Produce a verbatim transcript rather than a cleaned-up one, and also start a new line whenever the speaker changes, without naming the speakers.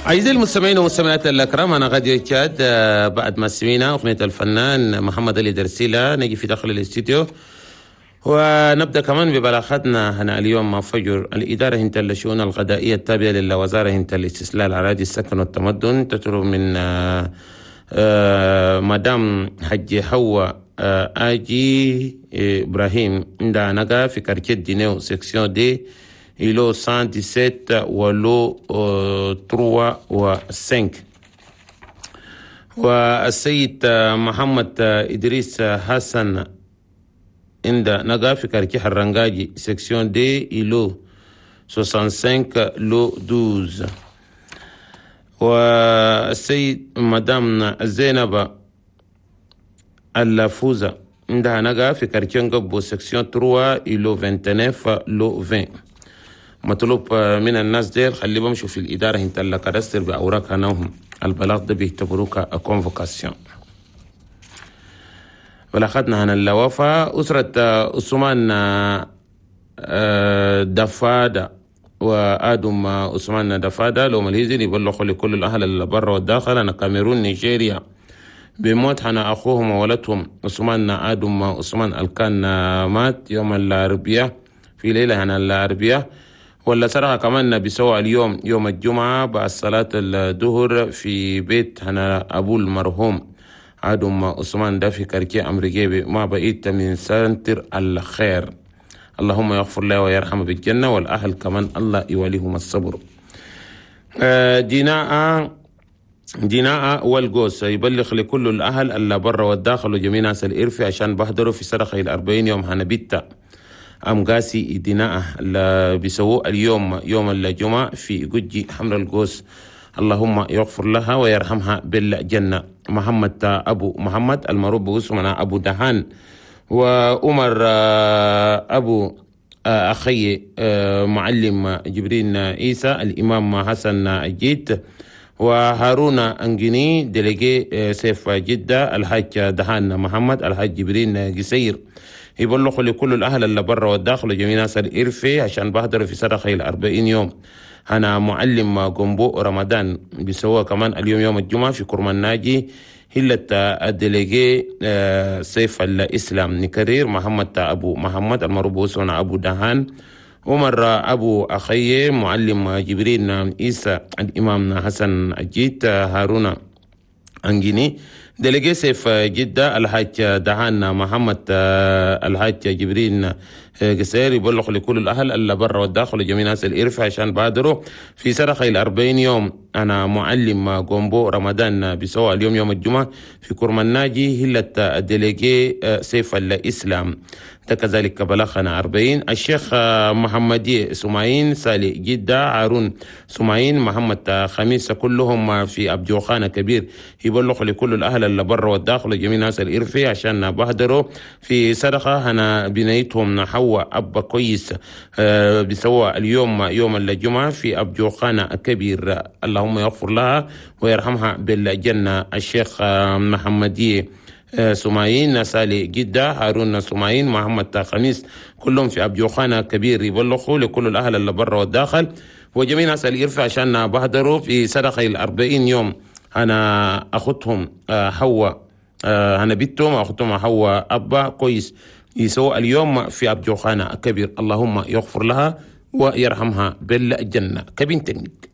أعزائي المستمعين والمستمعات الأكرام، أنا غادي تشاد بعد ما سمعنا أغنية الفنان محمد علي درسيلة نجي في داخل الاستديو ونبدأ كمان ببلاغاتنا هنا اليوم مع فجر. الإدارة هنت الشؤون الغذائية التابعة للوزارة هنت الاستسلال الأراضي السكن والتمدن تطلب من آه، آه، مدام حجي حوا آه، آجي إبراهيم عندها نقا في quartier دينيو section deux îlot مية وسبعتاشر و lot ثلاثة و خمسة. والسيد محمد إدريس حسن عند نقا في quartier حرنجاجي section deux îlot خمسة وستين lot اثنا عشر. والسيد مدام زينب اللافوزة عندها نقا في quartier نقبو section ثلاثة îlot تسعة وعشرين lot عشرين. مطلوب من الناس ديل خلي بمشوا في الإدارة هنت ال cadastre بأوراق هناهم. البلاغ ده بيعتبروه convocation. بلاغتنا هنا الوفاة أسرة عثمان دفادة وآدم عثمان دفادة لو ماليزي يبلغوا لكل الأهل اللي برا والداخل أنا كاميرون نيجيريا بموت حنا أخوهم وولدهم عثمان آدم عثمان الكان مات يوم الأربعاء في ليلة هنا الأربعاء، ولا صراحة كمان بيسوى اليوم يوم الجمعة بعد صلاة الظهر في بيت هنا أبو المرحوم آدم عثمان ده في quartier أمريكي ما بعيد من centre الخير. اللهم يغفر له ويرحمه بالجنة، والأهل كمان الله يوليهم الصبر. آه، ديناء ديناء والقوس يبلغ لكل الأهل اللي برا والداخل وجميع ناس الإرفي عشان بحضروا في صدقة الأربعين يوم هنا بيتا أم قاسي ديناء اللي بيسووه اليوم يوم الجمعة في جوجي حمر القوس. اللهم يغفر لها ويرحمها بالجنة. محمد أبو محمد المعروف باسمنا أبو دهان وعمر آه، أبو آه، أخي آه، معلم جبرين عيسى الإمام حسن الجيت وهارون أنجني délégué سيف جدة الحاج دهان محمد الحاج جبرين قسير يبلغوا لكل الأهل اللي برا والداخل وجميع ناس الإرفي عشان بحضروا في صدقة الأربعين يوم أنا معلم قنبو رمضان بيسوى كمان اليوم يوم الجمعة في كرمان ناجي هلة ال délégué آه، سيف الإسلام. نكرير محمد أبو محمد المعروف باسمنا أبو دهان، عمر أبو أخي، معلم جبرين عيسى، الإمام حسن الجيت، هارون أنجيني délégué سيف جدة الحاج دهان محمد، الحاج جبرين قصير يبلغ لكل الأهل اللي برا والداخل وجميع ناس الإرفع عشان بادروا في صدقة الأربعين يوم أنا معلم قومبو رمضان بسوى اليوم يوم الجمعة في كرم الناجي هلة ال délégué سيف الإسلام. ده كذلك بلغنا أربعين الشيخ محمدي سماعين سالي جدة هارون سماعين محمد خميس كلهم في أبجوخانة كبير يبلغ لكل الأهل اللي برا والداخل وجميع ناس الإرفي عشان بهدروا في صدقة هنا بنيتهم حواء أبا كويس آه، بسوى اليوم يوم الجمعة في أبجوخانة كبير. اللهم يغفر لها ويرحمها بالجنة. الشيخ محمدي آه، سماعين سالي جدة هارون سماعين محمد خميس كلهم في أبجوخانة كبير يبلغوا لكل الأهل اللي برا والداخل وجميع ناس الإرفع عشان بهدروا في صدقة الأربعين يوم أنا أخذتهم آه، حواء آه، أنا بنتهم أخذتهم حواء أبا كويس يسوى اليوم في أبجوخانة كبير. اللهم يغفر لها ويرحمها بالجنة. كبنتنك.